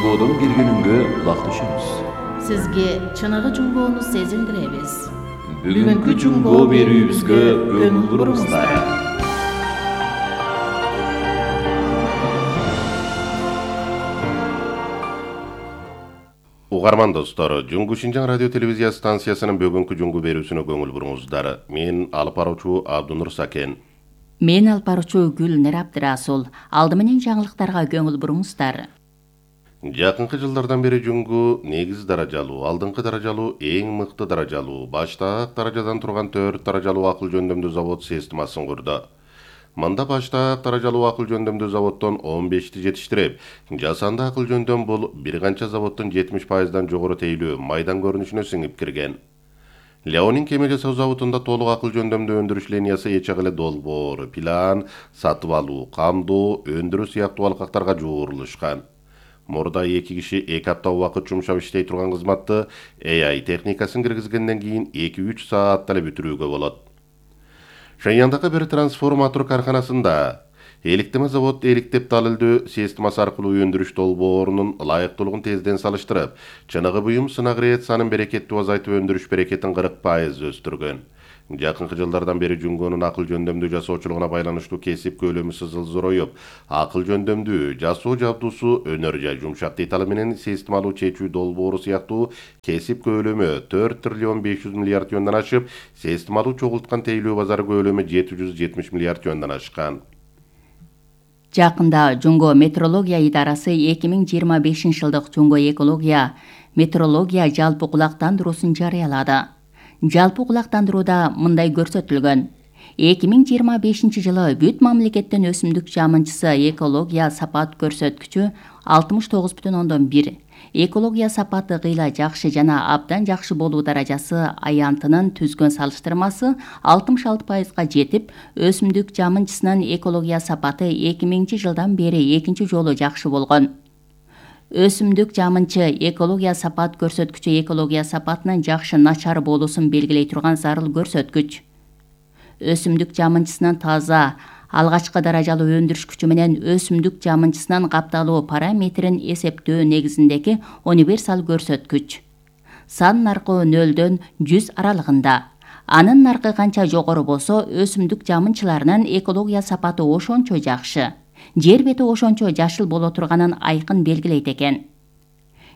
Жунгодон келгениңге кулакташабыз. Сизге чыныгы жунгоону сезиндиребиз. Бүгүнкү жунгоо берүүбүзгө көңүл буруңуздар. Угарман достор, Жунгу Шинжаң радио телевизия станциясынын бүгүнкү жунгу берүүсүнө көңүл буруңуздар. Мен алып баруучу Абдунур Сакен. Мен алып баруучу Гүлнар Абдырасул. Алды менен жаңылыктарга көңүл буруңуздар. Жакынкы жылдардан бери жунгу негиз даражалуу, алдыңкы даражалуу, эң мыкты даражалуу, баштаак даражадан турган 4 даражалуу акыл жөндөмдүү завод системасын курду. Мында баштаак даражалуу акыл жөндөмдүү заводдон 15ти жетиштирип, жасанды акыл жөндөм бул бир канча заводдун 70%дан жогору тейлүү майдан көрүнүшүнө сиңип кирген. Леонин кеме жасоо заводунда толук акыл жөндөмдүү өндүрүш линиясы эч агыле долбоор, план, сатып алуу, камдоо, өндүрүү сыяктуу алкактарга жуурулушкан. Мурда 2 киши 2 апта убакыт жумшап иштей турган кызматты AI техникасын киргизгенден кийин 2-3 саатта эле бүтүрүүгө болот. Шеньяндагы бир трансформатор карканасында эликтеме завод эликтеп далилдөө системасы аркылуу өндүрүш долбоорунун ылайыктуулугун тезден салыштырып, чыныгы буюм сынак реакциянын берекеттүү азайтып өндүрүш берекетин 40% өстүргөн. Жакынкы жылдардан бери жунгонун акыл жөндөмдүү жасоочулугуна байланыштуу кесип көлөмү сызыл зороюп, акыл жөндөмдүү жасоо жабдуусу өнөр жай жумшак детали менен системалуу чечүү долбоору сыяктуу кесип көлөмү 4 триллион 500 миллиард теннеден ашып, системалуу чогулткан тейлүү базары көлөмү 770 миллиард теннеден ашкан. Жакында Жунго метеорология идарасы 2025 жылдык Жунго экология метеорология жалпы кулактандыруусын жарыялады. Жалпы кулактандырууда мындай көрсөтүлгөн. 2025 жылы бүт мамлекеттен өсүмдүк жамынчысы экология сапат көрсөткүчү 69,1. Экология сапаты кыйла жакшы жана абдан жакшы болуу даражасы аянтынын түзгөн салыштырмасы 66%га жетип, өсүмдүк жамынчысынын экология сапаты 2000 жылдан бери экинчи жолу жакшы болгон. Өсүмдүк жамынчы экология сапат көрсөткүчү экология сапатынын жакшы начар болуусун белгилей турган зарыл көрсөткүч. Өсүмдүк жамынчысынын таза алгачкы даражалуу өндүрүш күчү менен өсүмдүк жамынчысынын капталуу параметрин эсептөө негизиндеги универсал көрсөткүч. Сан наркы 0-дөн 100 аралыгында. Анын наркы канча жогору болсо, өсүмдүк жамынчыларынын экология сапаты ошончо жакшы. Жер бети ошончо жашыл боло турганын айкын белгилейт экен.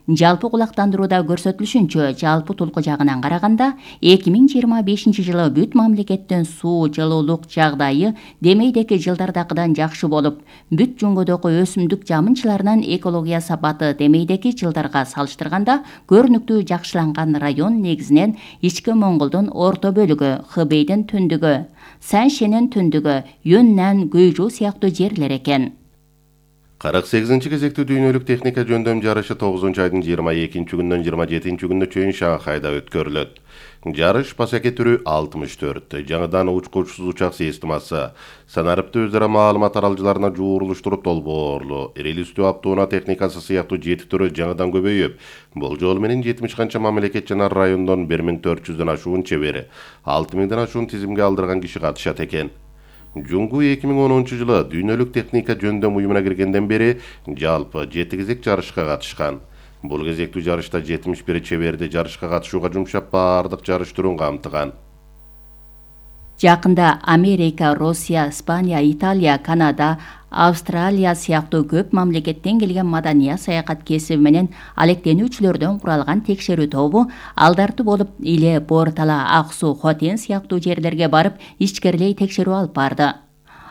Жалпы кулактандырууда көрсөтүлүшүнчө, жалпы тулку жагынан караганда 2025 жылы бүт мамлекеттен суу жылуулук жагдайы демейдеки жылдардакыдан жакшы болуп, бүт жунгодогу өсүмдүк жамынчыларынын экология сапаты демейдеки жылдарга салыштырганда көрүнүктүү жакшыланган район негизинен Ички Моңголдун орто бөлүгү, Хыбейдин түндүгү, Саншенин түндүгү, Юннан, Гүйжу сыяктуу жерлер экен. 48 кезектүү дүйнөлүк техника жөндөм жарышы 9 айдын 22 күнүнөн 27 күнүнө чейин Шанхайда өткөрүлөт. Жарыш пасаке түрү 64, жаңыдан учкучсуз учак системасы, санарыпты өз ара маалымат аралжыларына жуурулуштуруп долбоорлу, релистүү аптоуна техникасы сыяктуу 7 түрү жаңыдан көбөйүп, бул жол менен 70 канча мамлекет жана райондон 1400дөн ашуун чебери, 6000ден ашуун тизимге алдырган киши катышат экен. Жунгу 2010 жылы дүйнөлүк техника жөндөм уюмуна киргенден бери жалпы 7 кезек жарышка катышкан. Бул кезектүү жарышта 71 чеберди жарышка катышууга жумшап, бардык жарыш түрүн камтыган. Жакында Америка, Россия, Испания, Италия, Канада, Австралия сыяктуу көп мамлекеттен келген маданий саякат кесиби менен алектенүүчүлөрдөн куралган текшерүү тобу алдартуу болуп Иле, Бортала, Ак суу, Хотен сыяктуу жерлерге барып ичкерилей текшерүү алып барды.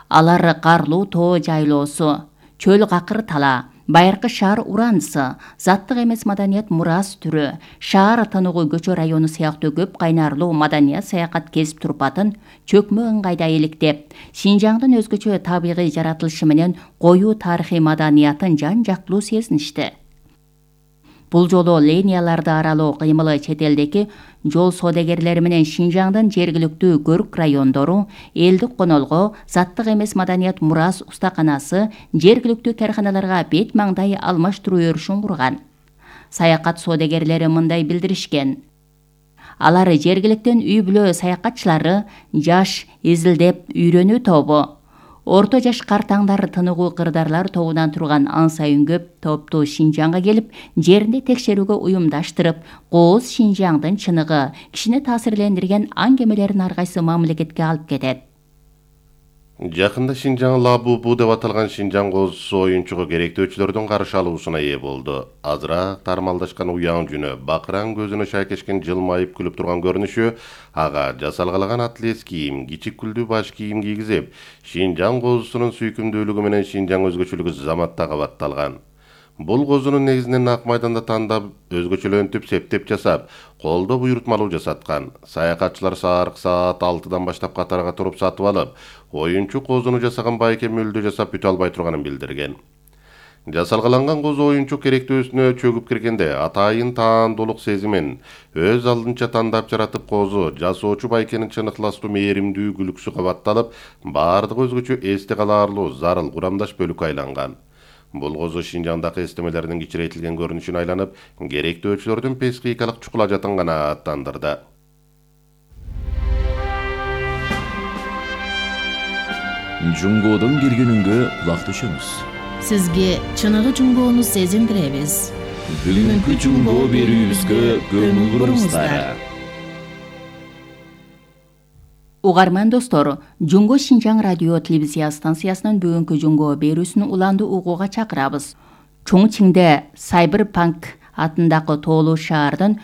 Алар карлуу тоо жайлоосу, чөл какыр тала, байыркы шаар уранысы, заттык эмес маданият мурас түрү, шаар Тынугу көчө району сыяктуу көп кайнарлуу маданий саякат кесип турпатын чөкмө ыңгайда иликтеп, Шинжаңдын өзгөчө табигый жаратылышы менен коюу тарыхый маданиятын жан-жактылуу сезиништи. Бул жолу линияларды аралоо кыймылы чет элдеки жол соодагерлери менен Шинжаңдын жергиликтүү көрк райондору, элдик конолго, заттык эмес маданият мурас устаканасы, жергиликтүү карканаларга бет маңдай алмаштыруу өрүшүн курган. Саякат соодагерлери мындай билдиришкен. Алар жергиликтен үй бүлө саякатчылары, жаш изилдеп үйрөнүү тобу, Орто жаш картаңдар тыныгуу кырдаарлар тобунан турган ан сайын көп топту Шинжаңга келип, жеринде текшерүүгө уюмдаштырып, кооз Шинжаңдын чыныгы, кишини таасирлендирген аңгемелерин ар кайсы мамлекетке алып кетет. Жакында Шинжаң Лабубу деп аталган Шинжаң коозусу оюнчуга керектөөчүлөрдүн каршы алуусуна ээ болду. Азыраак тармалдашкан уяң жүнү, бакыраң көзүнө шайкешкен жылмайып күлүп турган көрүнүшү ага жасалгалаган атлес кийим, кичик күлдүү баш кийим кийгизип, Шинжаң коозусунун сүйкүмдүүлүгү менен Шинжаң өзгөчөлүгү заматта кабатталган. Бул коозунун негизинен Ак майданда тандап, өзгөчөлөнтүп, септеп жасап, колдо буйрутмалуу жасаткан. Саякатчылар саат 6-дан баштап катарга туруп сатып алып, оюнчу коозуну жасаган байке мөлдө жасап бүтө албай турганын билдирген. Жасалгаланган кооз оюнчу керектөөсүнө чөгүп киргенде атайын таандуулук сезимин өз алдынча тандап жаратып коозу жасоочу байкенин чыныкталастуу мээримдүү күлкүсү кабатталып, баардыгы өзгөчө эсте калаарлуу зарыл курамдаш бөлүккө айланган. Бул коозу Шинжаңдагы эстемелердин кичирейтилген көрүнүшүнө айланып, керектөөчүлөрдүн психикалык чукулажатын канааттандырды. Жунгоодон киргенүнгө кулак түшөңүз. Сизге чыныгы жунгоону сезиндиребиз. Бүгүнкү жунгоо берүүбүзгө көңүл буруңуздар. Угарман достор, Жунго Шинжаң радио телевизия станциясынын бүгүнкү жунгоо берүүсүн уланды угууга чакырабыз. Чоңчиңде Сайберпанк атындагы тоолуу шаардын